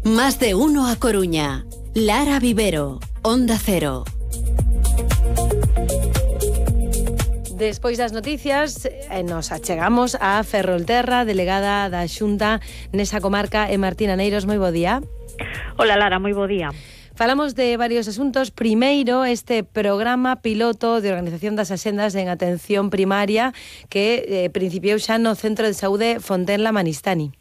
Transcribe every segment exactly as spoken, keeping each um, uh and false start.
Más de uno a Coruña. Lara Vivero, Onda Cero. Despois das noticias, eh, nos achegamos a Ferrolterra, delegada da Xunta nesa comarca, e Martina Neiros, moi bo día. Hola Lara, moi bo día. Falamos de varios asuntos. Primeiro, este programa piloto de organización das axendas en atención primaria que eh, principiou xa no Centro de Saúde Fontenla Manistani.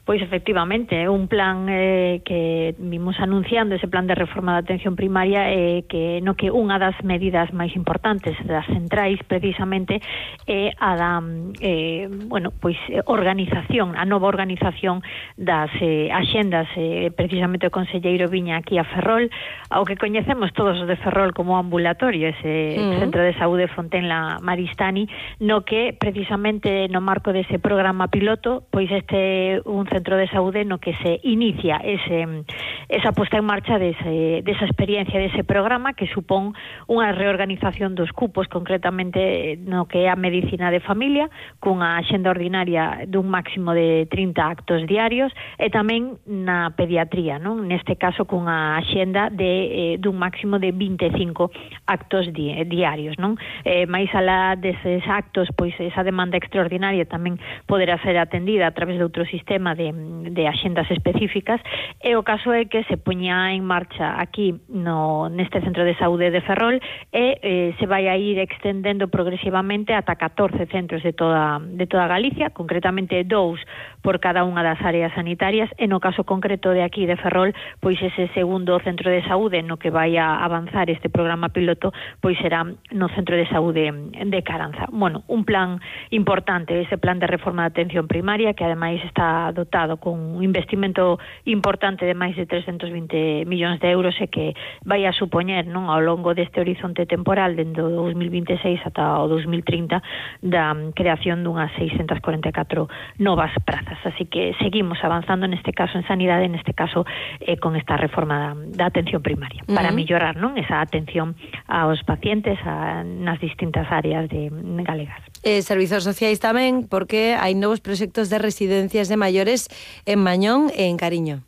Pois efectivamente, é un plan eh, que vimos anunciando, ese plan de reforma da atención primaria, eh, que no que unha das medidas máis importantes das centrais precisamente é a da eh, bueno, pois organización, a nova organización das eh, axendas, eh, precisamente o conselleiro viña aquí a Ferrol, ao que coñecemos todos os de Ferrol como ambulatorio, ese uh-huh. Centro de Saúde Fontenla Maristani, no que precisamente no marco dese programa piloto, pois este un centro de saúde no que se inicia ese, esa posta en marcha dese, desa experiencia, dese programa que supón unha reorganización dos cupos, concretamente no que é a medicina de familia, cunha axenda ordinaria dun máximo de trinta actos diarios, e tamén na pediatría, non? Neste caso cunha axenda de, eh, dun máximo de vinte e cinco actos di, diarios, non? Eh, máis alá deses actos, pois esa demanda extraordinaria tamén poderá ser atendida a través de outro sistema de de axendas específicas, e o caso é que se poña en marcha aquí no neste Centro de Saúde de Ferrol e eh, se vai a ir extendendo progresivamente ata catorce centros de toda de toda Galicia, concretamente dous por cada unha das áreas sanitarias, e no caso concreto de aquí de Ferrol, pois ese segundo centro de saúde no que vai a avanzar este programa piloto, pois será no Centro de Saúde de Caranza. Bueno, un plan importante, ese plan de reforma de atención primaria, que ademais está dotado con un investimento importante de máis de trescentos vinte millóns de euros e que vai a supoñer, non, ao longo deste horizonte temporal dende o dos mil vinte e seis ata o dos mil trinta da creación dunhas seiscentas corenta e catro novas prazas. Así que seguimos avanzando neste caso en sanidade, neste caso eh, con esta reforma da, da atención primaria, uh-huh. para mellorar, non, esa atención aos pacientes a, nas distintas áreas de, de galegas. Eh, servizos sociais tamén, porque hai novos proxectos de residencias de maiores en Mañón e en Cariño.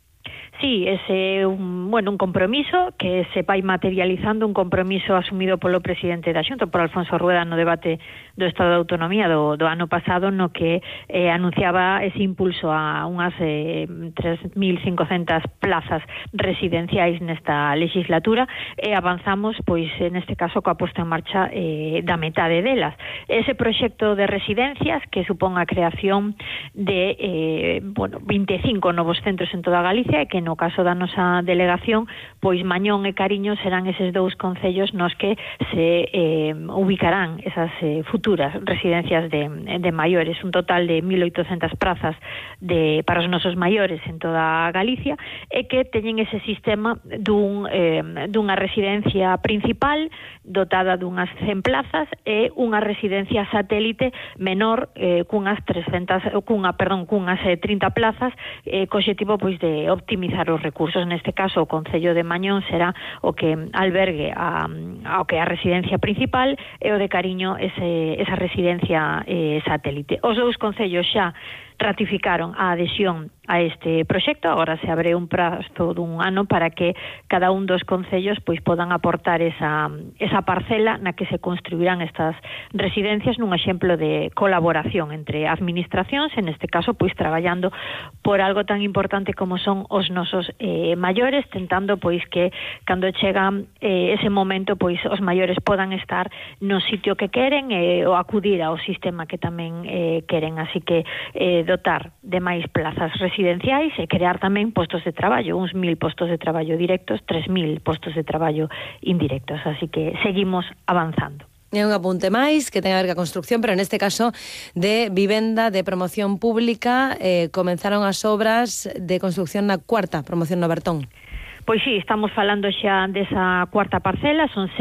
Sí, ese un, bueno, un compromiso que se vai materializando, un compromiso asumido polo presidente da Xunta, por Alfonso Rueda, no debate do Estado de Autonomía do, do ano pasado, no que eh, anunciaba ese impulso a unhas eh, tres mil cincocentas plazas residenciais nesta legislatura, e avanzamos, pois, neste caso, coa posta en marcha eh, da metade delas. Ese proxecto de residencias que supón a creación de eh, bueno, vinte e cinco novos centros en toda Galicia, e que no caso da nosa delegación, pois Mañón e Cariño serán eses dous concellos nos que se eh, ubicarán esas eh, futuras residencias de, de maiores, un total de mil oitocentas prazas de, para os nosos maiores en toda Galicia, e que teñen ese sistema dun, eh, dunha residencia principal dotada dunhas cen plazas e unha residencia satélite menor eh, cunhas trescentas, cunha, perdón, cunhas eh, trinta plazas, eh, co obxectivo pois de optimizar os recursos. Neste caso o Concello de Mañón será o que albergue a, ao que é a residencia principal, e o de Cariño ese, esa residencia eh, satélite. Os dous concellos xa ratificaron a adhesión a este proxecto. Agora se abre un prazo dun ano para que cada un dos concellos pois podan aportar esa, esa parcela na que se construirán estas residencias, nun exemplo de colaboración entre administracións, en este caso pois traballando por algo tan importante como son os nosos eh, maiores, tentando pois que cando chega eh, ese momento pois os maiores podan estar no sitio que queren eh, ou acudir ao sistema que tamén eh, queren. Así que eh, dotar de máis plazas residenciais e crear tamén postos de traballo, uns mil postos de traballo directos, tres mil postos de traballo indirectos. Así que seguimos avanzando. É un apunte máis que ten a ver ca construcción, pero neste caso de vivenda de promoción pública. Eh, comenzaron as obras de construcción na cuarta promoción no Bertón. Pois sí, estamos falando xa desa cuarta parcela, son